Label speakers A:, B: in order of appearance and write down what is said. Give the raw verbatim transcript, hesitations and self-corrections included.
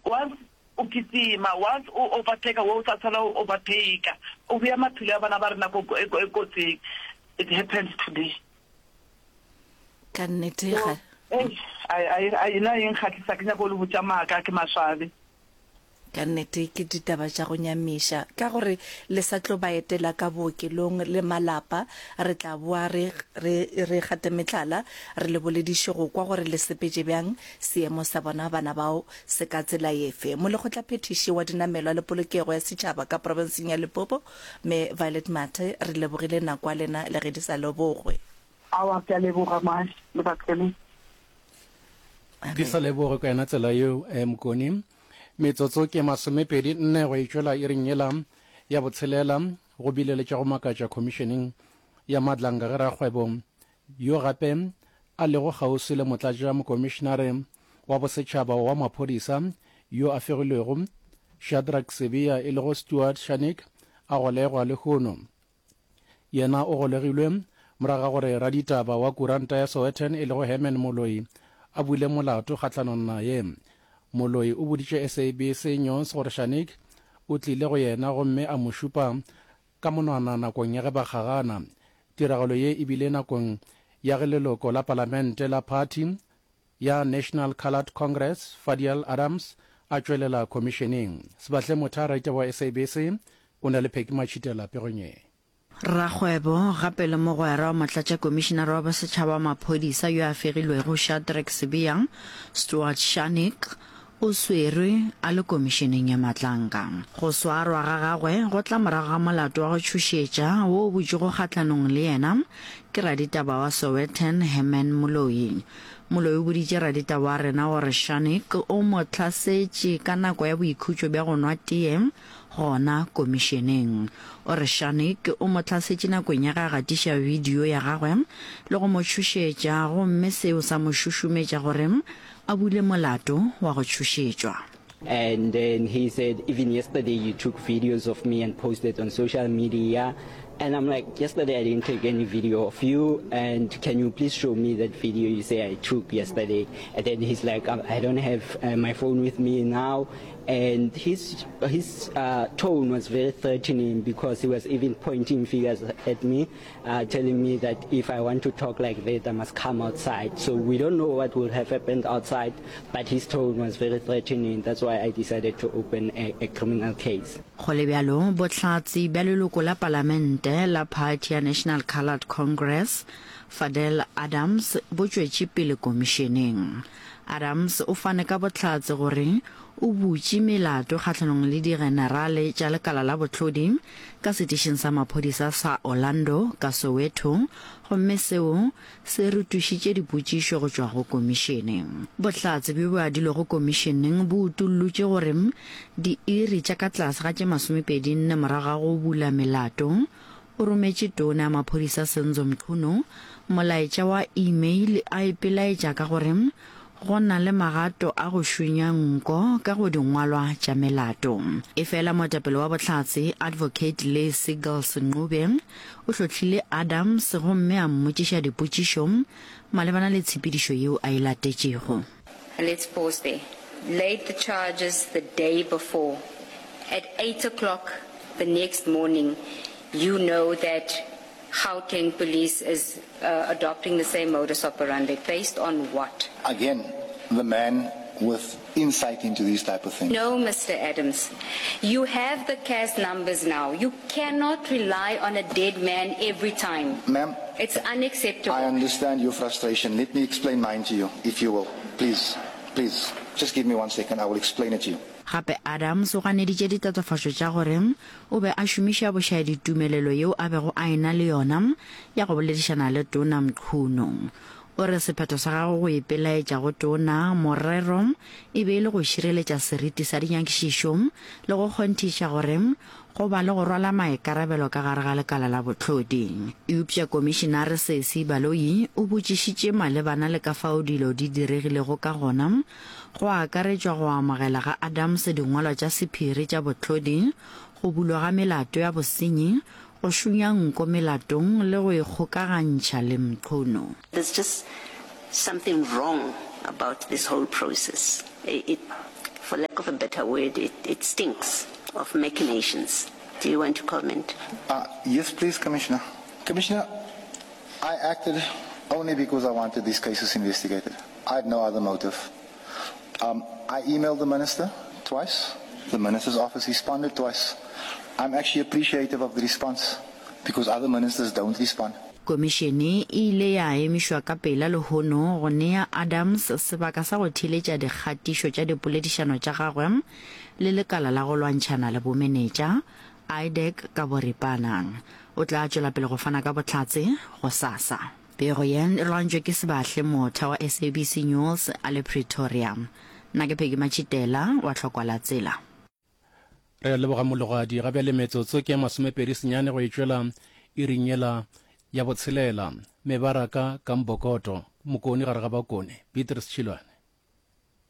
A: Once o kitima, once o overtake wo o sa tshwana o overtake, o bea maphelo a bana ba rena ko kotsing. It happens today.
B: Ka nnete ga.
A: Eish, ai ai ai nna e nkgahlisa, ke nyaka go le botša maaka, ke maswabi.
B: Ka nnete ke ditaba tša go nyamiša. Ka gore le sa tlo ba etela ka bookelong le malapa, re tla boa re, re, re gate mehlala, re le bolediše go kwa gore le sepetše bjang, seemo sa bona bana bao se ka tsela efe. Molekgotlaphethiši wa Dinamelwa le Polokego ya Setšhaba ka profenseng ya Limpopo, Mme Violet Mathe, re lebogile nako ya lena le ge di sa lebogwe.
A: Aowa, ke a leboga, Moaši le Batleleng.
C: Di sa lebogwe ka yona tsela yeo, eh, Mokoni. Metsotso ke masomepedi nne go e tšwela iring yela ya botshelela, go bile le tša go makatša khomišeneng ya Madlanga ge rakgwebo yo gape a lego kgauswi le motlatša mokomišenare wa bosetšhaba wa maphodisa yo a fegilwego Shadrack Sibiya e lego Stuart Scharnick a golegwa lehono. Yena o golegilwe morago ga gore raditaba wa kuranta ya Sowetan e lego Herman Moloi a bule molato kgahlanong naye. Moloi o boditše S A B C News gore Scharnick o tlile go yena gomme a mo šupa ka monwana nakong ya ge ba kgagana. Tiragalo ye e bile nakong ya ge leloko la palamente la phathi ya National Coloured Congress, Fadiel Adams, a tšwelela khomišeneng. Sebahle Motha, raditaba wa S A B C, o na le Phecky Matšhitela pegong ye.
D: Rakgwebo gape le mogwera wa motlatšakomišenare wa bosetšhaba wa maphodisa yo a fegilwego Shadrack Sibiya, Stuart Scharnick, o swerwe a le komišeneng ya Matlanka. Go swarwa ga gagwe go tla morago ga molato wa go tšhošetša wo o butšwego kgahlanong le yena ke raditaba wa Sowetan Herman Moloi. Moloi o boditše raditaba wa rena gore Scharnick o mo hlasetše ka nako ya boikhutšo bja go nwa tee gona komišeneng. O re Scharnick o mo hlasetše nakong ya ge a gatiša bidio ya gagwe le go mo tšhošetša gomme seo sa mo šušumetša gore a bule molato wa go tšhošetšwa.
E: And then he said, "Even yesterday you took videos of me and posted on social media." And I'm like, "Yesterday I didn't take any video of you. And can you please show me that video you say I took yesterday?" And then he's like, "I don't have uh, my phone with me now." And his, his uh, tone was very threatening because he was even pointing fingers at me, uh, telling me that if I want to talk like that, I must come outside. So we don't know what will have happened outside, but his tone was very threatening. That's why I decided to open a, a criminal case.
D: Go le bjalo, bohlatse bja leloko la palamente la phathi ya National Coloured Congress, Fadel Adams, bo tšwetše pele komišeneng. Adams o fane ka bohlatse gore o butše melato kgahlanong le digenerale tša lekala la bohlodi ka setišing sa maphodisa sa Orlando ka Soweto gomme seo se rotošitše dipotšišo go tšwa go komišene. Bohlatse bjo bo adilwego komišeneng bo utollotše gore diiri tša ka tlase ga tše masomepedi nne morago ga go bula melato, o rometše tona ya maphodisa Senzo Mchunu molaetša wa email a ipelaetša ka gore go na le magato a go šunya nko ka go dingwalwa tša melato. Efela moetapele wa bohlatse Advocate Lee Seagulls Ncube o hlohlile Adams gomme a mmotšiša dipotšišo malebana le tshepedišo yeo a e latetšego.
F: Let's pause there. Laid the charges the day before. At eight o'clock the next morning, you know that Gauteng police is uh, adopting the same modus operandi. Based on what?
G: Again, the man with insight into these type of things.
F: No, Mister Adams. You have the C A S numbers now. You cannot rely on a dead man every time.
G: Ma'am,
F: It's unacceptable.
G: I understand your frustration. Let me explain mine to you, if you will. Please, please, just give me one second. I will explain it to you.
D: Gape Adams o ganeditše ditatofatšo tša gore o be a šomiša bošaedi tumelelo yeo a bego a e-na le yona ya go boledišana le Tona Mchunu. O re sephetho sa gagwe go ipelaetša go Tona morero e be e le go šireletša seriti sa dinyakišišo le go kgonthiša gore go ba le go rwala maikarabelo ka gare ga lekala la bohlodi. Eupša Komišinare Sesi Baloyi o botšišitše malebana le ka fao dilo di diregilego ka gona, go akaretšwa go amogela ga Adams dingwalwa tša sephiri tša bohlodi, go bulwa ga melato ya bosenyi, go šunya nko melatong le go ikgokagantšha le Mchunu.
H: There's just something wrong about this whole process. It, For lack of a better word, it, it stinks of machinations. Do you want to comment?
G: Uh, yes, please, Commissioner. Commissioner, I acted only because I wanted these cases investigated. I had no other motive. Um, I emailed the minister twice. The minister's office responded twice. I'm actually appreciative of the response because other ministers don't respond.
D: Komišene e ile ya emišwa ka pela lehono go nea Adams sebaka sa go theeletša dikgatišo tša dipoledišano tša gagwe le lekala la go lwantšhana le bomenetša, IDAC ka boripana. O tla tšwela pele go fana ka bohlatse gosasa. Pego ye e lwantšwe ke Sebahle Motha wa SABC News a le Pretoria. Nna ke Peggy Matšhitela wa Tlhokwa la Tsela.
C: Re a leboga Mologadi. Ga bjale metsotso ke ya masomepedi senyane go e tšwela iring yela ya botshelela. Mebaraka ka Mbokoto, Mokone gare ga Bakone. Beatrice Tšhilwane.